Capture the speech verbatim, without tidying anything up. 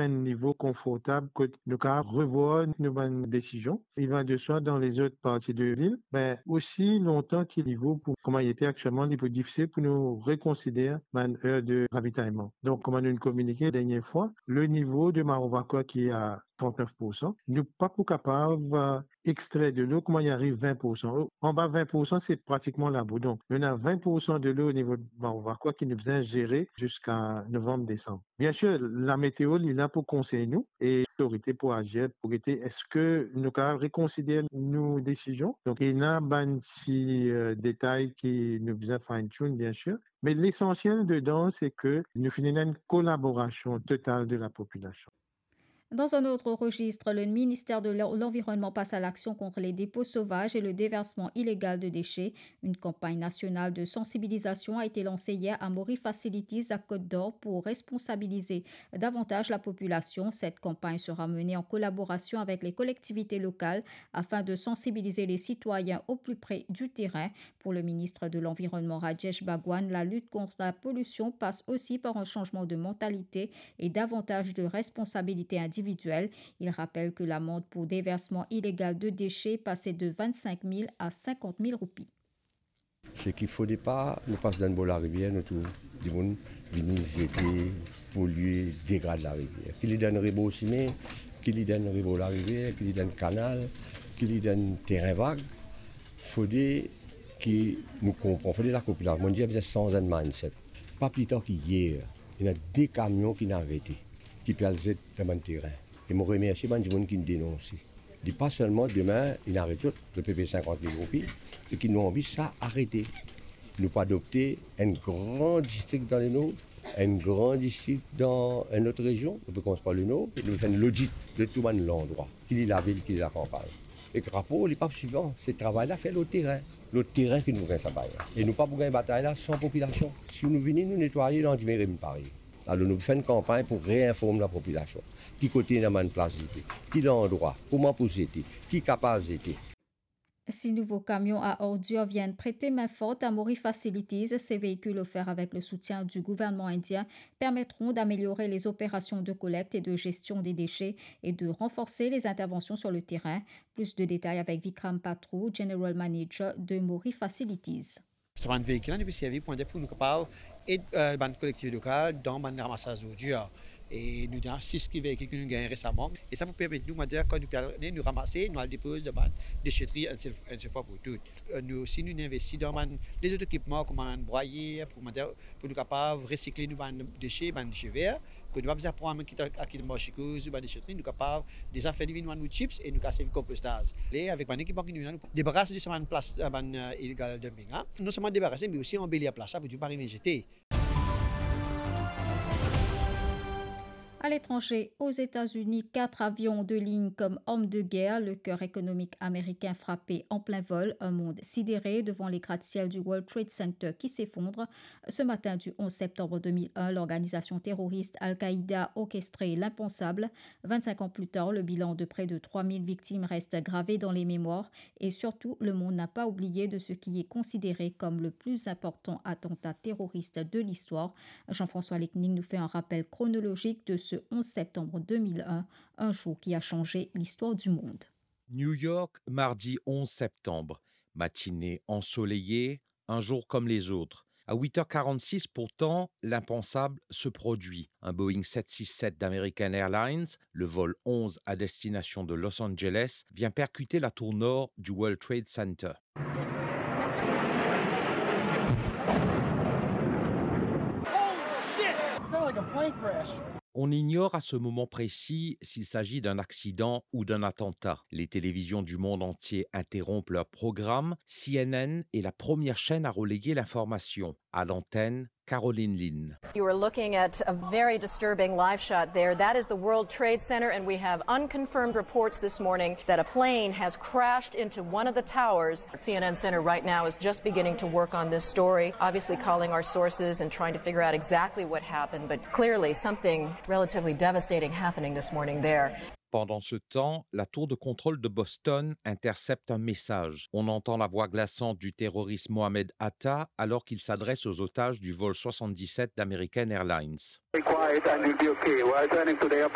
enn nivo konfortab kot nou kapav revwar nou bann desizion. Il va de soi, dan lezot parti de lil, be, osi lontan ki nivo pou kouma li ete aktielman, li pou difisil pou nou rekonsider bann er de ravitayman. Donk, kouma nou kominike dernie fwa, le nivo de Mawrovakoa ki a trant-nef poursan, nou pa pou kapav, eh, extrer delo kouma li ariv vin poursan. Anba vin poursan, se pratikman labou. Donk, nou ena vin poursan delo o nivo de Mawrovakoa ki nou bizin zere ziska novanm, desanm. Biensir, lameteo, li la pou konsey nou e lotorite pou azir, pou gete eski nou kapav rekonsider nou desizion. Donk, ena bann ti, eh, detay ki nou bizin fine tune, biensir. Me lesansiel dedan, se ke nou finn ena enn kolaborasion total de lapopilasion. Dans un autre registre, le ministère de l'En-, l'Environnement passe à l'action contre les dépôts sauvages et le déversement illégal de déchets. Une campagne nationale de sensibilisation a été lancée hier à Mori Facilities à Côte d'Or pour responsabiliser davantage la population. Cette campagne sera menée en collaboration avec les collectivités locales afin de sensibiliser les citoyens au plus près du terrain. Pour le ministre de l'Environnement, Rajesh Bhagwan, la lutte contre la pollution passe aussi par un changement de mentalité et davantage de responsabilité individuelle. Il rappelle que l'amende pour déversement illégal de déchets est passée de vingt-cinq mille à cinquante mille roupies. Seki fode pa nou pas dan bor larivier, nou trouv dimoun vini zete, polie, degrad larivier. Ki li dan rebor sime, ki li dan rebor larivier, ki li dan kanal, ki li dan terin vag. Fode ki nou konpran, fode lapopilasion, mo dir, bizin sanz enn mindset. Pa pli tar ki yer, ena de kamion ki inn arete, ki pe al zet dan bann terin. E mo remersie bann dimoun ki inn denonse. Li pa selman demin inn aret zot, zot pe pey sinkant mil roupi, seki nou anvi sa arete. Nou pou adopte enn gran distrik dan Lenor, enn gran distrik dan enn lot rezion, nou pe koumans par Lenor, nou fer enn lodit de tou bann landrwa, ki li lavil, ki li lakanpagn. Ek rapor, li pa sifisan, se travay la fer lor terin. Lor terin ki nou pou gagn sa batay la. E nou pa pou gagn batay la san popilasion. Si nou vini, nou netwaye, landime revinn parey. Alor nou fer enn kanpagn pou reinform lapopilasion. Ki kote ena bann plas zete, ki landrwa, kouma pou zete, ki kapav zete. Six nouveaux camions à ordures viennent prêter main forte à Mori Facilities. Ces véhicules, offerts avec le soutien du gouvernement indien, permettront d'améliorer les opérations de collecte et de gestion des déchets et de renforcer les interventions sur le terrain. Plus de détails avec Vikram Patrou, General Manager de Mori Facilities. Sa bann veikil la, nou pe servi pou, pou nou kapav ed, eh, bann kolektivite lokal dan bann ramasaz zordir. E nou ena sis ki veikil ki nou gagn resaman. E sa pou permet nou, kouma dir, kan nou pe al, nou ramase, nou al depoz dan bann desetri enn sel, enn sel fwa pou tou. Eh, nou osi, nou investi dan bann lezot ekipman, kouma bann brwayer, pou, kouma dir, pou nou kapav resikle nou bann dese, bann dese ver, ke nou pa bizin pran, kit al, al kit marse koze, bann desetri, nou kapav deza fer li vinn bann wood chips e nou kapav servi konpostaz. E avek bann ekipman ki nou ena, nou debaras de sa bann plas, eh, bann, eh, illegal dumping la. Non selman debarase, me osi anbelir plas la pou dimoun pa revinn zete. À l'étranger, aux États-Unis, quatre avions de ligne comme arme de guerre, le cœur économique américain frappé en plein vol, un monde sidéré devant les gratte-ciel du World Trade Center qui s'effondre. Ce matin du onze septembre deux mille un, l'organisation terroriste Al-Qaïda orchestrait l'impensable. Vingt-cinq ans plus tard, le bilan de près de trois mille victimes reste gravé dans les mémoires et surtout, le monde n'a pas oublié de ce qui est considéré comme le plus important attentat terroriste de l'histoire. Jean-François Lecning nous fait un rappel chronologique de ce onze septembre deux mille un, un jour qui a changé l'histoire du monde. New York, mardi onze septembre. Matinée ensoleillée, un jour comme les autres. À huit heures quarante-six, pourtant, l'impensable se produit. Un Boeing sept six sept d'American Airlines, le vol onze à destination de Los Angeles, vient percuter la tour nord du World Trade Center. On ignore à ce moment précis s'il s'agit d'un accident ou d'un attentat. Les télévisions du monde entier interrompent leur programme. C N N est la première chaîne à relayer l'information. À l'antenne, Caroline Lynn. You are looking at a very disturbing live shot there. That is the World Trade Center, and we have unconfirmed reports this morning that a plane has crashed into one of the towers. C N N Center right now is just beginning to work on this story, obviously calling our sources and trying to figure out exactly what happened, but clearly something relatively devastating happening this morning there. Pendant ce temps, la tour de contrôle de Boston intercepte un message. On entend la voix glaçante du terroriste Mohamed Atta alors qu'il s'adresse aux otages du vol soixante-dix-sept d'American Airlines. Be quiet and you'll be okay. We're turning to the airport.